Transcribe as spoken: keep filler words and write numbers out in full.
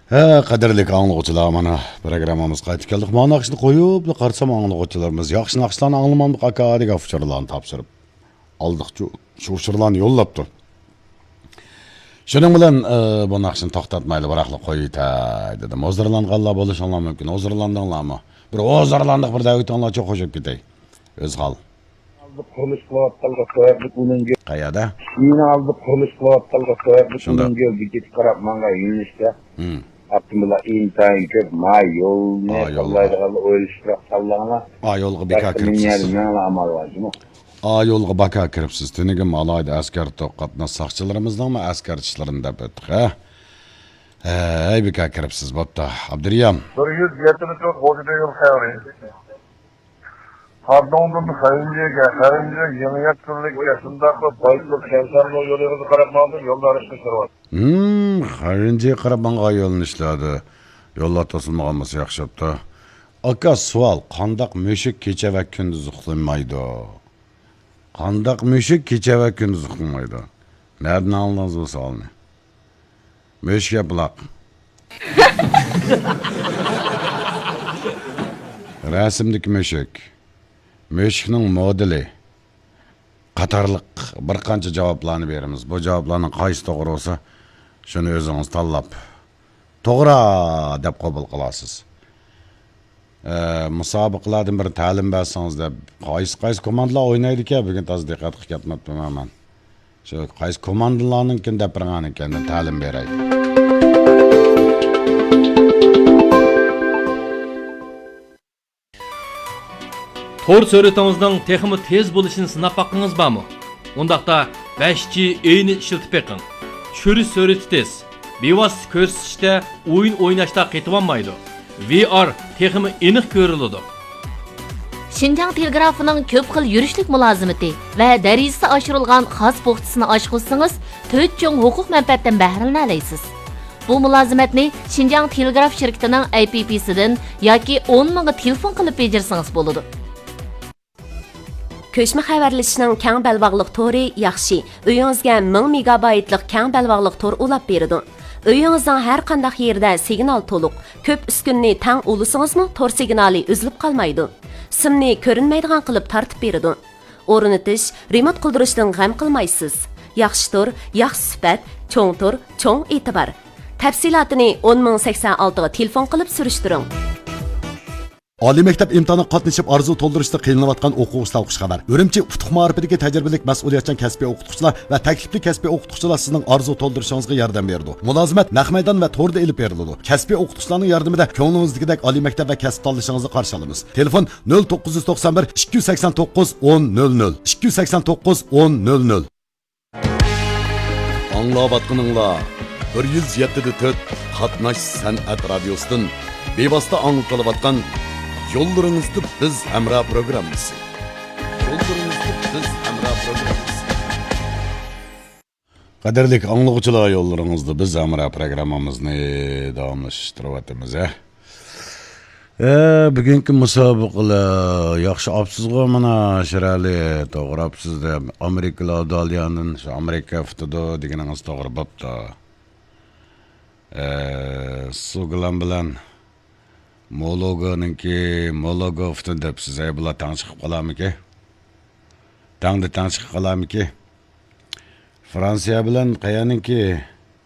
ھە، قەدىرلىك ئاڭلىغۇچىلار، مانا پروگراممىمىز قايتىپ كەلدۇق. مانا ناخشىنى قويۇپلا قارىسام، ئاڭلىغۇچىلىرىمىز ياخشى ناخشىلارنى ئاڭلىمامدۇق ئاكا دېگەن ئۇچۇرلارنى تاپشۇرۇپ ئالدىقچۇ. شۇ ئۇچۇرلارنى يوللاپتۇ. شۇنىڭ بىلەن، ئى، بۇ ناخشىنى توختاتمايلى، بىراقلا قويۇۋېتەي دېدىم. ھۇزۇرلانغانلار بولۇشۇڭلار مۇمكىن. ھۇزۇرلاندىڭلارمۇ؟ بىر ھۇزۇرلاندۇق، بىر دەۋېتىڭلارچۇ، قوشۇپ كېتەي. ئۆزھال. ئالدى قۇرۇلۇش قىلىۋاتقانلىقى سەۋەبلىك ئۇنىڭ گۆ-، قەيەردە؟ شىنجاڭ ئالدى قۇرۇلۇش قىلىۋاتقانلىقى سەۋەبلىك شۇنداق. ئۇنىڭ گۆلدىكىگە قاراپ ماڭغان يۆنىلىشتە. ھىم. ئاپتوموبىللار ئىنتايىن كۆپ. ما يولنى ئا، يولغا. تاللايدىغانلار ئويلىشىپراق تاللاڭلار. ئا، يولغا بىكار باشقا كىرىپسىز. مىنىيەر مېڭىڭلار ئامال بار جۇمۇ. ئا، يولغا بىكار كىرىپسىز. تۈنۈگۈن ئالاھىدە ئەسكەر توققۇزى قاتناش ساقچىلىرىمىزنىڭمۇ ئەسكەرچىلىرىنى دەپ ئۆتتۇق، ھە؟ ھەي، بىكار كىرىپسىز. بوپتۇ. ئابدۇرىيان. بىر يۈز يەتتە مىڭ تۆت يۈز يىگىرمە يىل خەۋىرى. خادوڭدىن خەنجىگە، خەنجى يېڭى يەتكۈنلۈككە، شۇنداقلا بايتۇل كەنسەرنو يولىغا قاراپ ماڭدىم، يولدا ئارىشقا كىرىۋاتىدۇ. ھىم، خەنجىگە قاراپ ماڭغان يۆنىلىشلەردە يوللار توسۇلمىغان بولسا ياخشى بوپتۇ. ئاكا، سوئال، قانداق مۈشۈك كېچە ۋە كۈندۈز ئۇخلىمايدۇ؟ قانداق مۈشۈك كېچە ۋە كۈندۈز ئۇخلىمايدۇ؟ نەدىن ئاڭلىدىڭىز بۇ سوئالنى؟ مۈشۈك ياپىلاق. رەسىمدىكى مۈشۈك، مۈشۈكنىڭ مودېلى قاتارلىق بىر قانچە جاۋابلارنى بېرىمىز. بۇ جاۋابلارنىڭ قايسى توغرا بولسا، شۇنى ئۆزىڭىز تاللاپ، توغرا دەپ قوبۇل قىلارسىز. ئە، مۇسابىقىلەردىن بىر تەلىم بەرسىڭىز دەپ، قايسى، قايسى كوماندىلار ئوينايدىكەن؟ بۈگۈن تازا دىققەت قىلىپ كەتمەپتىمەن مەن. شۇ قايسى كوماندىلارنىڭكىنى دەپ بېرىڭ، ئاندىن كېيىن تەلىم بېرەي. تور سۈرئىتىڭىزنىڭ تېخىمۇ تېز بولۇشىنى سىناپ باققىڭىز بارمۇ؟ ئۇنداقتا بەش جى ئېينى ئىشلىتىپ بېقىڭ. چۈشۈرۈش سۈرئىتى تېز، بىۋاسىتە كۆرسىتىشتە ئويۇن ئويناشتا قېتىۋالمايدۇ. ۋى ئار تېخىمۇ ئېنىق كۆرۈلىدۇ. شىنجاڭ تېلېگرافىنىڭ كۆپ خىل يۈرۈشلۈك مۇلازىمىتى ۋە دەرىجىسى ئاشۇرۇلغان خاس بوختىسىنى ئاچقۇزسىڭىز، تۆت چوڭ ھوقۇق مەنپەئەتتىن بەھرىلىنەلەيسىز. بۇ مۇلازىمەتنى شىنجاڭ تېلېگراف شىركىتىنىڭ ئەي پىي پىسىدىن ياكى ئون مىڭغا تېلېفون قىلىپ بېجىرسىڭىز بولىدۇ. كۆچمە خەۋەرلىشىشنىڭ كەڭ بەلباغلىق تورى ياخشى. ئۆيىڭىزگە مىڭ مېگابايتلىق كەڭ بەلباغلىق تور ئۇلاپ بېرىدۇ. ئۆيىڭىزنىڭ ھەر قانداق يېرىدە سىگنال تولۇق. كۆپ ئۈسكۈنىنى تەڭ ئۇلىسىڭىزمۇ تور سىگنالى ئۈزۈلۈپ قالمايدۇ. سىمنى كۆرۈنمەيدىغان قىلىپ تارتىپ بېرىدۇ. ئورنىتىش، رېمونت قىلدۇرۇشتىن غەم قىلمايسىز. ياخشى تور، ياخشى سۈپەت، چوڭ تور، چوڭ ئېتىبار. تەپسىلاتىنى ئون مىڭ سەكسەن ئالتىغا تېلېفون قىلىپ سۈرۈشتۈرۈڭ. ئالىي مەكتەپ ئىمتىھانىغا قاتنىشىپ ئارزۇ تولدۇرۇشتا قىينىلىۋاتقان ئوقۇغۇچىلارغا خۇش خەۋەر. ئۈرۈمچى ئۇتۇق مائارىپىدىكى تەجرىبىلىك مەسئۇلىيەتچان كەسپىي ئوقۇتقۇچىلار ۋە تەكلىپلىك كەسپىي ئوقۇتقۇچىلار سىزنىڭ ئارزۇ تولدۇرۇشىڭىزغا ياردەم بېرىدۇ. مۇلازىمەت نەق مەيدان ۋە توردا ئېلىپ بېرىلىدۇ. كەسپىي ئوقۇتقۇچىلارنىڭ ياردىمىدە كۆڭلىڭىزدىكىدەك ئالىي مەكتەپ ۋە كەسىپ تاللىشىڭىزنى قارشى ئالىمىز. تېلېفون: نۆل توققۇز يۈز توقسان بىر، ئىككى يۈز سەكسەن توققۇز، ئون نۆل نۆل، ئىككى يۈز سەكسەن توققۇز، ئون نۆل نۆل. ئاڭلاۋاتقىنىڭلار بىر يۈز يەتتە دە تۆت قاتناش سەنئەت رادىيوسىدىن بىۋاسىتە ئاڭلىتىلىۋاتقان يوللىرىڭىزدا بىز ھەمراھ پروگراممىسى. يوللىرىڭىزدا بىز ھەمراھ پروگراممىسى. قەدىرلىك ئاڭلىغۇچىلار، يوللىرىڭىزدا بىز ھەمراھ پروگراممىمىزنى داۋاملاشتۇرۇۋاتىمىز، ھە. ئە، بۈگۈنكى مۇسابىقىلەر ياخشى ئاپسىزغۇ، مانا، شىرئەلى، توغرا ئاپسىز دەپ، ئامېرىكىلار داليانىن شۇ ئامېرىكا ئۇتىدۇ دېگىنىڭىز توغرا بوپتۇ. ئە، سۇگلان بىلەن مولوگونىڭكى، مولوگو ئۇتىدۇ دەپسىز، ئەي، بۇلار تەڭ چىقىپ قالارمىكى؟ تەڭدە تەڭ چىقىپ قالارمىكى؟ فرانسىيە بىلەن قەيەرنىڭكى؟